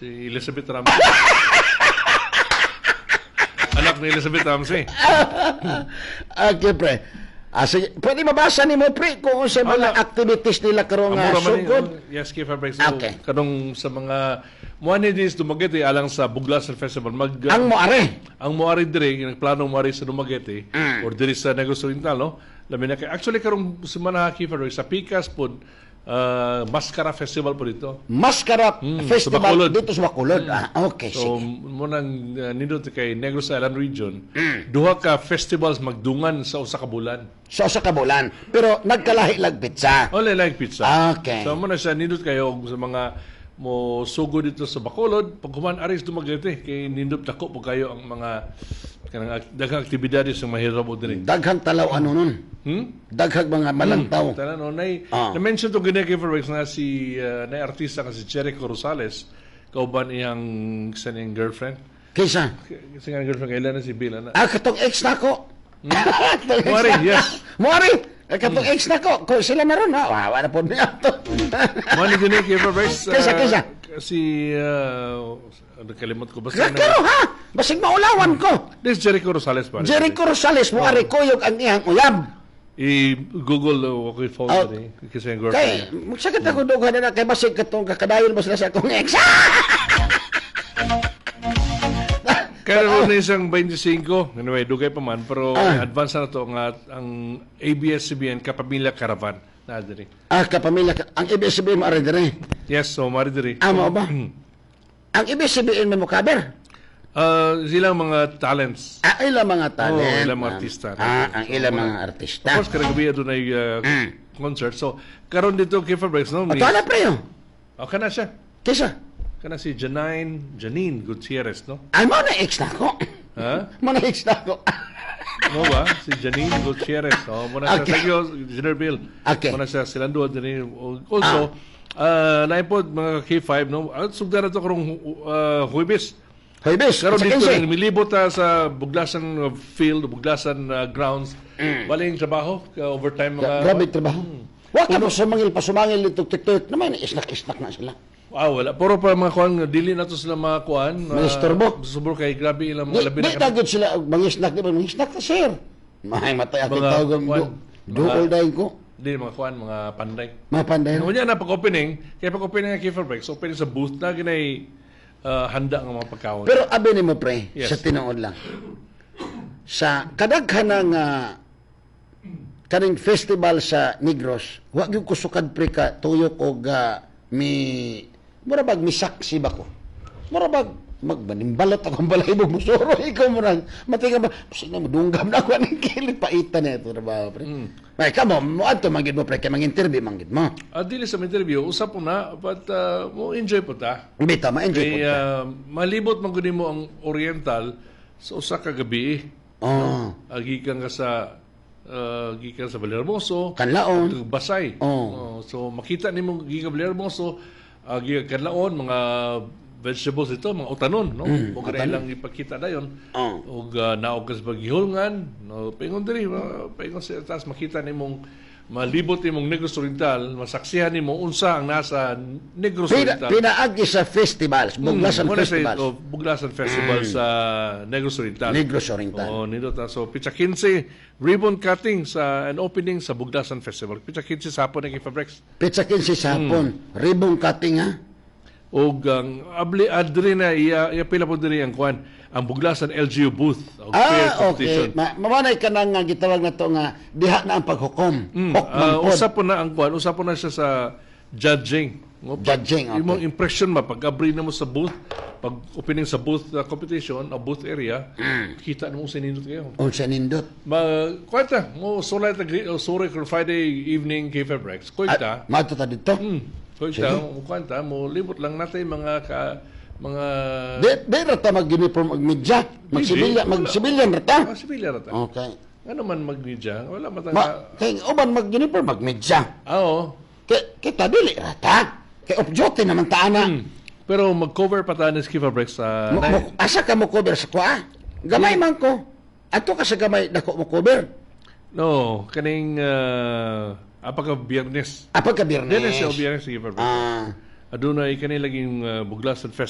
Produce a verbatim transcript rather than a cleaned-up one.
Si Elizabeth Ramsey. Anak ni Elizabeth Ramsey. Okay, pre. Ah, sige. Pwede mabasa nimo, pre, kung sa mga Wala. Activities nila karon nga Amura man ni- sugod. Oh, yes, Kay Fabric. So, Okay. kanong sa mga mo ni dis Dumaguete alang sa Buglasan Festival mag Ang moare. Ang moari dire, nagplano moari sa Dumaguete Mm. or diri sa Negros Oriental, no? Labi na kay actually karong semana, Kay Fabric, sa Pikas pod uh, Mascara Festival po dito. Mascara Mm, Festival sa Bacolod. dito sa Bacolod. Ah, okay, So sige. mo nang uh, nindot kay Negros Island Region, Mm. duha ka festivals magdungan sa usa ka bulan. So sa kabulan. Pero nagkalahi lag petsa. Only like petsa. Okay. So mo na siya nindot kayo og sa mga mo sugo dito sa Bacolod, pag human aris Dumaguete kay nindot dako po kayo ang mga kanang ak- daghang aktibidades ang mahirap diri. Daghang talaw ano nun. Hmm? Daghang mga malangtaw. Tanan no nay Ah. na-mention to gani kay Fairbanks nga si uh, na artista nga si Jericho Rosales kauban iyang sa niyang girlfriend. Kaysa? Kasi nga girlfriend kailan na si Bill ana. Ah, katong ex na ko. Katong ex Muari, na- yes. Muari. Eh, katong ex na ko. Kung sila na ron, ha? Wala na po niya to. Mo ni gani kay Fairbanks. uh, Kaysa, kaysa? Si uh, ano, kalimot ko basta. Pero ha, basig maulawan ko. This Jericho Rosales pa. Jericho Rosales, muari kuyog ang iyang uyab. I-Google uh, ako yung phone Oh. oh. kasi yung girlfriend Kay, niya. magsakit ako dughan na kay basig katong kakadayon ba sila sa akong ex. Kaya na isang twenty-five, anyway, dugay pa man, pero Ah. advance na to nga ang A B S-C B N Kapamilya Caravan na diri. Ah, kapamilya, ka- ang A B S-C B N mo ari dire. Yes, so mari diri. Ah, mao ba? Ang A B S-C B N may mokaber. Uh, silang mga talents. Ah, ilang mga talent. Oh, ilang mga artista. Ah, ang ilang mga artista. Of course, karang gabi doon ay uh, concert. So, karon dito kay Fabrics, no? O, na pre, oh. Oh, kana siya. Kisa? Kana si Janine, Janine Gutierrez, no? Ay, mo na ex na ako. Ha? Mo na ex na ako. Mo ba? Si Janine Gutierrez. Oh, mo na siya. Okay. Thank you, Engineer Bill. Okay. Mo na siya silang duha din. Also, uh, naay pod mga K five, no? At sugdan na to karong uh, Huwebes. Huwebes, Karon sa dito kinse. milibot ta sa Buglasan uh, field, Buglasan uh, grounds. Baling trabaho, uh, overtime mga Grabe trabaho. Wa ka mo sumangil pa sumangil dito TikTok naman isnak-isnak na sila. Ah, wala. Puro pa mga kuan, dili na to sila mga kuan. Mga istorbo. Subor kay grabe ilang Di, mga labi di na dagod sila og mangisnak, di ba mangisnak ta, sir. May matay ako Mga tawag kuwan, duol mga- dahil ko. Di mga kuan, mga panday. Mga panday. Ngunya na pag opening, kaya pag opening ang Kiefer Breaks, opening sa booth na ginay uh, handa ng mga pagkaon. Pero abi nimo, pre, Yes. sa tinuod lang. Sa kadaghan nga kaning festival sa Negros, wa gyud ko sukad, pre, ka tuyok og ah, mi mura bag misaksi ba ko. Mura bag magbanimbalot akong balahibo musuro ikaw mo nang matinga ba sige mo dunggam na ako aning kilid paitan na ito trabaho, pre. Mm. Ay kamo mo adto man gid mo, pre, kay mang-interview man gid mo. Ah, dili sa interview, usap po na, but uh, mo enjoy po ta. Bitaw ma-enjoy po Kay ta. uh, malibot man gud nimo ang Oriental sa usa ka gabi. Oh, Uh, gikan ka sa uh, gikan sa Vallehermoso, Kanlaon. ug Basay. Oh. Oh, so makita nimo gikan Vallehermoso, uh, gikan Kanlaon, mga vegetables ito, mga utanon, no? Mm, ug ilang ipakita dayon. Oh. Ug uh, naog ka sa paghihulngan, no, paingon diri, uh, paingon sa taas makita nimong malibot nimong Negros Oriental, masaksihan nimo unsa ang nasa Negros Pina, Oriental. Pinaagi sa festivals, Buglasan Muna sa Festivals. oh, Buglasan Festival sa Negros Oriental. Negros Oriental. Oo, nindot ta. So, pitsa kinse, ribbon cutting sa an opening sa Buglasan Festival. Pitsa kinse sa hapon ng Fabrex. Pitsa kinse sa hapon, Hmm. ribbon cutting ha. Og ang abli adri na iya iya pila po diri ang kuan ang Buglasan L G U booth og fair Ah, competition. okay. Ma mamanay ka na nga gitawag na to nga diha na ang paghukom. Mm, Hok man ah, pod. usa po na ang kuan, usa po na siya sa judging. No, pag- Judging, okay. Imong impression ma pag abri na mo sa booth, pag opening sa booth uh, competition, o booth area, Mm. kita mo sa nindot kayo. Unsa nindot. Ma kwenta, mo sulay ta o sorry kung Friday evening kay Febrex. Kwenta. Ah, maadto ta dito. Hmm. Kwenta, mo kwenta, mo libot lang natin mga ka mga Di di ra ta mag-uniform og media. Mag-civilian, Wala. mag-civilian ra ta. Mga civilian ra ta. Okay. Ano man magmedia, wala man ta. Ma kay uban mag-uniform mag-media. Ah, oo. Kay kita dili ra ta. Kay off duty naman ta ana. Hmm. Pero mag-cover pa ta ni Skifa Breaks sa Mo, mo, asa ka mo cover sa kuha? Gamay man ko. Ato ka sa gamay dako mo cover. No, kaning uh, apa ka Biyernes. Apa ka Biyernes? Biyernes siya, Biyernes Skifa Breaks. Ah. Adunay kani laging uh, Buglasan